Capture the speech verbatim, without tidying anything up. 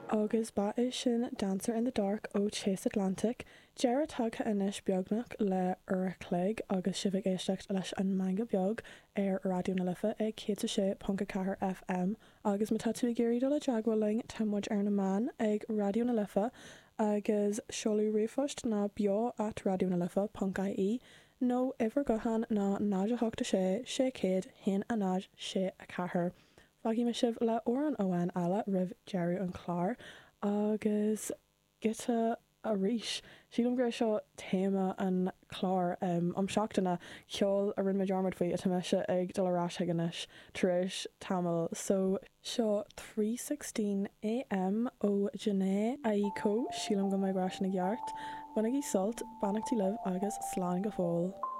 Agus ba é sin Dancer in the Dark ó Chase Atlantic. Deireadh tagtha anois beagnach le uair a chloig agus sibh ag éisteacht leis an Meangadh Beag ar Raidió na Life ag céad a sé ponc a ceathair FM agus má tá tú ag iarraidh dul i dteagmháil linn tá muid ar na meáin ag Raidió na Life agus seoladh ríomhphost ná beo at Raidió na Life ponc IE nó uimhir gutháin ná náid a hocht a sé sé céad haon a náid sé a ceathair. Fágfaidh mé sibh le amhrán amháin eile roimh deireadh an chláir agus giota arís. Sílim gur seo téama an chláir um, um seachtaine ceol a rinne mé dearmad faoi atá mise ag dul ar ais chuige anois tar éis tamall so seo three sixteen AM ó Jhené Aiko sílim go mbeidh sin i gceart. Bainigí sult, beannachtaí libh agus slán go fóill.